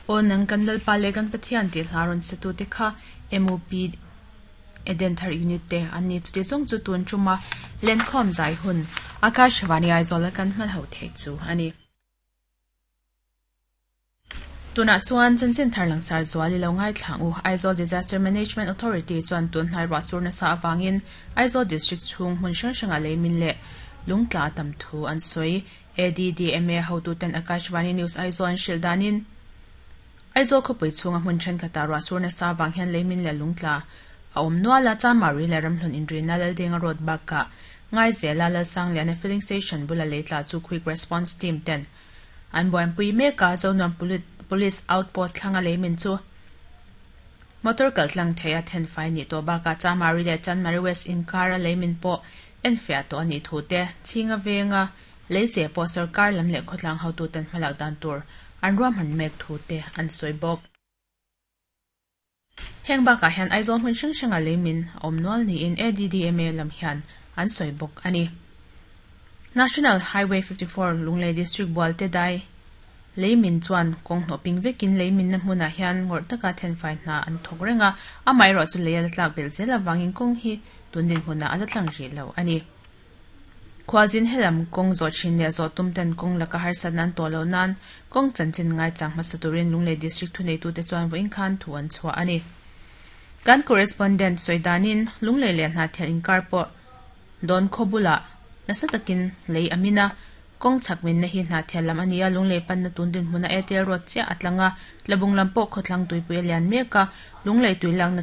Aw nang kan Lalpa leh kan Pathian tih hla rawn sa tute kha MUP Edenthar Unit te an ni. Chuti zawng chu tun tuma lenkhawm zai hun Akashvani Aizawl a kan hman ho theih chu a ni. Tunah chuan chanchin thar langsar zual i lo ngaithla ang u. Aizawl Disaster Management Authority chuan tun hnai ruah sur nasa avangin Aizawl District chhung hmun hrang hrangah leimin leh lungtla a tam thu an sawi. ADDMA hotuten Akashvani News Aizawl an hrilh danin Aizawl khawpui chhunga hmun thenkhatah ruah sur nasa avang hian leimin leh lungtla a awm nual a, Chamari leh Ramhlun inrina Laldenga Road bakah Ngaizela Lalsangliana Filling Station bula leitla chu Quick Response Team ten An buaipui mek a, Zonuam Police Outpost thlanga leimin chu motor kal tlang theih a thenfai nih tawh bakah Chamari leh Chanmari West inkara leimin pawh enfiah tawh a nih thu te, Chhinga venga lei che pawh sorkar lam leh khawtlang hotuten hmalak dan tur an ruahman mek thu te an sawi bawk. Heng bakah hian Aizawl hmun hrang hranga leimin a awm nual niin ADDMA lam hian an sawi bawk a ni. National Highway 54 Lunglei District Bualte dai leimin chuan kawng hnawh ping vekin leiminna hmunah hian ngawrh taka thenfai hna an thawk reng a, amaherawhchu lei a la tlak belh zel avangin kawng hi tun dinhmunah a la tlang rih lo a ni. Khualzin helam kawng zawh thin leh zawh tum ten kawng laka harsatna an tawh loh nan kawng chanchin ngaichang hmasa turin Lunglei District thuneitute chuan vawiin khan thu an chhuah a ni. Kan correspondent sawi danin Lunglei leh Hnahthial inkar pawh dawn khaw bulah nasa takin lei a min a, kawng chhak minna hi Hnahthial lam a ni a, Lunglei panna tun dinhmuna Airtel Road chiah a tlang a, Tlabung lam pawh khawthlang tuipui a lian mek a, Lunglei tui lakna tlawng.